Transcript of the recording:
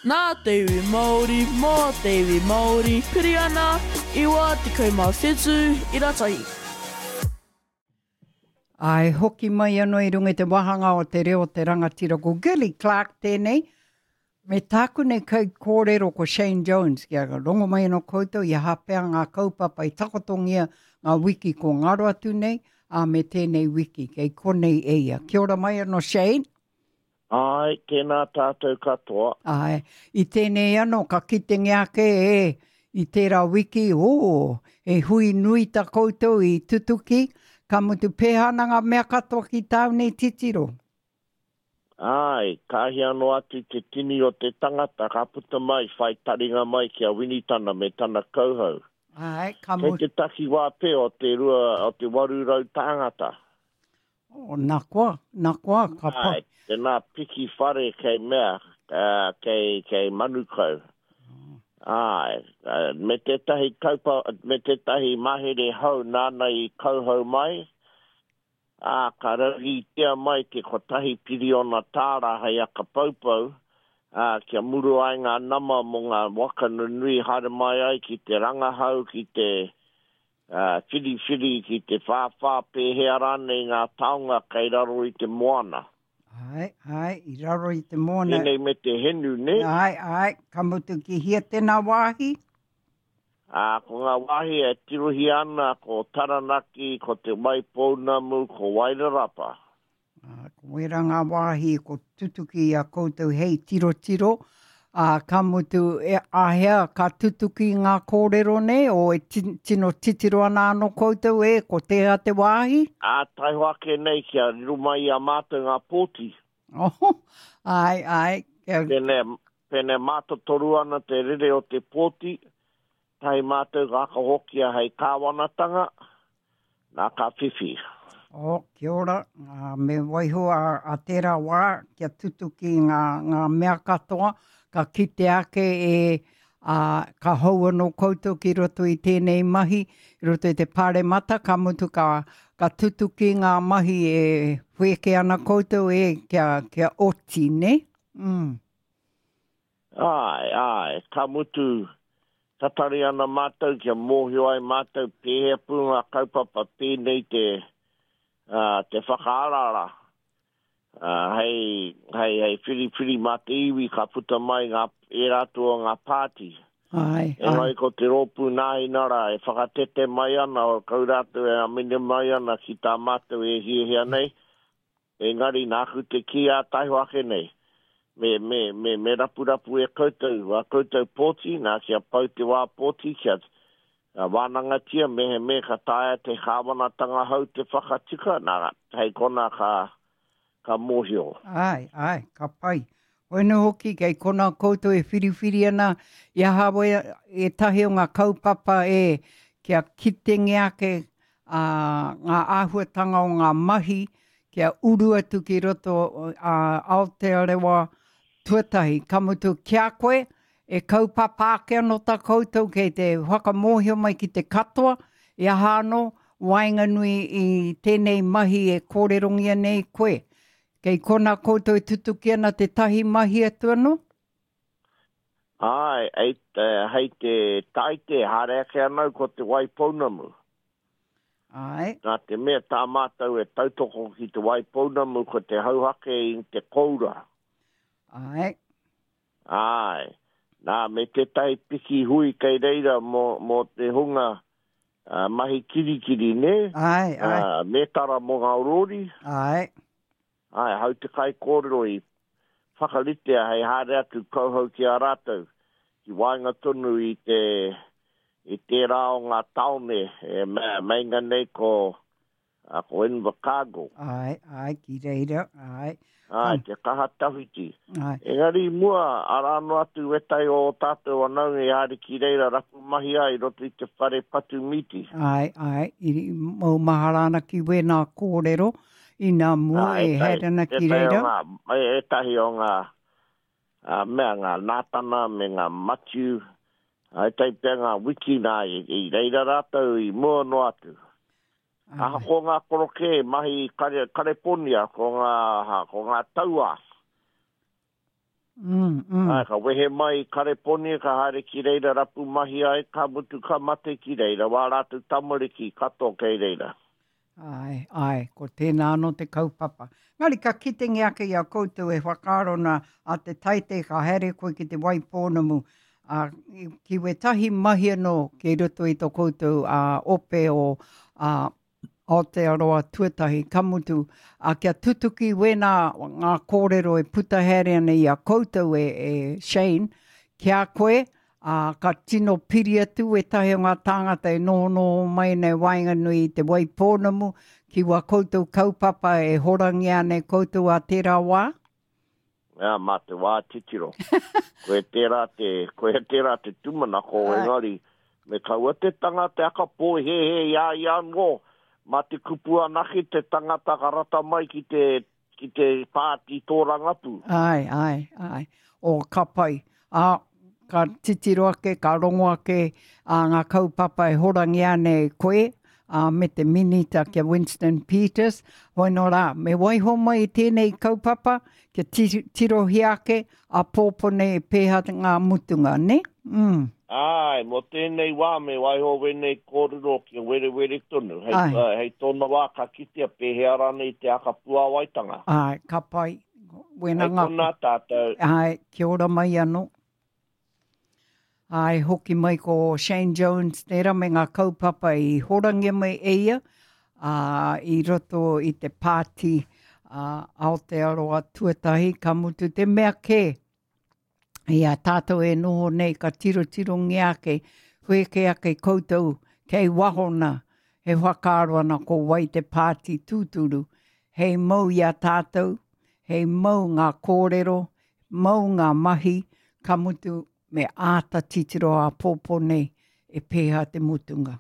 Nā te iwi Māori, mō te iwi Māori, piri ana, 97 ira tahi. Āe, hoki mai anō i runga i te wāhanga o te reo o te rangatira ko Gilly Clark tēnei, me tāku nei kaikōrero ko Shane Jones, kia rongo mai anō koutou i aha pea ngā kaupapa i takotongia ngā wiki ko ngaro atu nei, ā, me tēnei wiki, kei konei e ia. Kia ora mai anō Shane. Āe, tēnā tātou katoa. Āe, i tēnei anō ka kitengia ake e i tērā wiki, ō, he hui nui tā koutou i tutuki, ka mutu pēhea ana ngā mea katoa ki tāu nei titiro? Āe, ka hia noa atu te tini o te tangata ka puta mai, whai taringa mai ki a Winitana me tana kauhau. Āe, ka mutu. Kei te takiwā pea o te rua, o te 800 tāngata. Oh, nā koa, nā koa, ka pa. Āe, tēnā piki whare kei mea, kei, kei Manukau. Āe, me tētahi kaupa, me tētahi mahere hou nāna i kauhau mai, ā, ka rauhītia mai te kotahi piriona tāra hei aka poupou, ā, kia muru ai ngā nama mō ngā waka nunui haere mai ai ki te rangahau, ki te, Ā, whiriwhiri ki te whāwhā pēhea rānei ngā taonga kei raro i te moana. Āe, āe, i raro i te moana. Pēnei me te henu, nē? Āe, āe, ka mutu ki hea tēnā wāhi? Ā, ko ngā wāhi e tirohia ana ko Taranaki, ko Te Waipounamu, ko Wairarapa. Ā, ko wērā ngā wāhi ko tutuki i a koutou hei tirotiro, ā, ka mutu, e, āhea ka tutuki ngā kōrero nei, o e tino titiro ana anō koutou, e, ko tēhea te wāhi? Ā, taihoa ake nei kia riro mai i a mātou ngā pōti. Oho, āe, āe. Kia... Pēnei, pēnei mātotoru ana te rere o te pōti, tahi mātou ka whakahokia hei kāwanatanga, Nā ka whiwhi. Oh, kia ora. Uh, me waiho a, a tērā wā kia tutuki ngā, ngā mea katoa, ka kite ake e, a, ka hou anō koutou ki roto i tēnei mahi, i roto i te pāremata, ka mutu ka, ka tutuki ngā mahi e whēke ana koutou e kia, kia oti, ne? Mm. Āe, āe, ka mutu, tatari ana mātou kia mōhio ai mātou pēhea pū ngā kaupapa pēnei te, ā, te whakaaraara, ā, hei, hei, hei whiriwhiri mā te iwi ka puta mai ngā, ērā atu o ngā pāti. Āe, āe. Engari ko te rōpū Nāhinara e whakatete mai ana, kau rātou e amine mai ana ki tā mātou e hiahia nei, Engari nāku te kī ā taiho ake nei, me, me, me, me rapurapu e koutou ā koutou pōti, nā, kia pau te wā pōti, kia wānangatia mehemea ka taea te kāwanatanga hou te whakatika, nā, hei konā ka, ka mōhio. Āe, āe, ka pai. Hoenu hoki, kei konā koutou e whiriwhiri ana i aha ētahi o ngā kaupapa e kia kitengia ake ā, ngā āhuatanga o ngā mahi kia uru atu ki roto a Aotearoa tuatahi. Ka mutu ki a koe, e kaupapa ake anō tā koutou kei te whakamōhio mai ki te katoa, i aha anō waenganui i tēnei mahi e kōrerongia nei koe. Kei konā koutou e tutuki ana tētahi mahi atu anō? Āe, hei te Tāite haere ake ana au ko Te Waipounamu. Āe. Nā te mea tā mātou e tautoko ki Te Waipounamu ko te hauhake i te koura. Āe. Āe. Nā, me tētahi piki hui kei reira mō, mō te hunga mahi kirikiri, nē? Āe, āe. Mētara mō ngā rōri. Āe. Āe, hau te kaikōrero i whakaritea hei haere atu kauhau ki a rātou, ki waenga tonu i te, i tērā o ngā tāone e meinga nei ko, ko Invercargill. Āe, āe, ki reira, āe. Āe, te kaha tawhiti. Āe. Engari i mua, arā noa atu wētahi o ō tātou whanaunga i haere ki reira rapu mahi ai i roto i te whare patu mīti. Āe, āe, i maumahara ana ki wēnā kōrero inā mua e haere ana ki reira. Ētahi o ngā mea, ngā Nātana me ngā Matiu, ētahi pea ngā wiki nā i reira rātou i mua noa atu. Ahakoa ngā korokē mahi i Kareponia, ko ngā, ko ngā tauā. Mm, mm. Āe, ka wehe mai i Kareponia, ka haere ki reira rapu mahi ai, ka mutu ka mate ki reira, wā rātou tamariki katoa kei reira. Āe, āe, ko tēnā anō te kaupapa. Engari ka kitengia ake i a koutou e whakaaro ana a te taite ka haere koe ki Te Waipounamu, ā, ki wētahi mahi anō kei roto i tō koutou ā, ope o ā, Aotearoa tuatahi, ka mutu, ā, kia tutuki wēnā ngā kōrero e puta haere ana i a koutou e, e Shane, ki a koe, ā, ka tino piri atu wētahi o ngā tāngata e nohonoho mai ana i waenganui i Te Waipounamu ki wā koutou kaupapa e horangia ana e koutou ā tērā wā? Ā, mā te wā titiro. Koia tērā te, koia tērā te tūmanako, engari, me kaua te tangata e aka pōhēhē i a ia anō, mā te kupu anake te tangata ka rata mai ki te, ki te pāti tōrangapū. Āe, āe, āe. O, ka pai. Ā, ka titiro ake, ka rongo ake ā ngā kaupapa e horangia ana e koe, ā, me te Minita ki a Winston Peters. Hoi nō rā, me waiho mai i tēnei kaupapa, kia tirohia ake, āpōpō nei e pēhea ngā mutunga, nē? Mm. Āe, mō tēnei wā me waiho wēnei kōrero kia werewere tonu, hei, hei tōna wā ka kitea pēhea rānei te aka puāwaitanga. Āe, ka pai. Wena Hei konā tātou. Āe, kia ora mai anō. Āe, hoki mai ko Shane Jones tērā me ngā kaupapa i horangia mai e ia, ā, i roto i te pāti ā, Aotearoa tuatahi, ka mutu te mea kē i a tātou e noho nei ka tirotirongia ake, whēkē ake koutou kei waho nā, e whakaaro ana ko wai te pāti tūturu, hei mau i a tātou, hei mau ngā kōrero, mau ngā mahi, ka mutu me āta titiro āpōpō nei e pēhea te mutunga.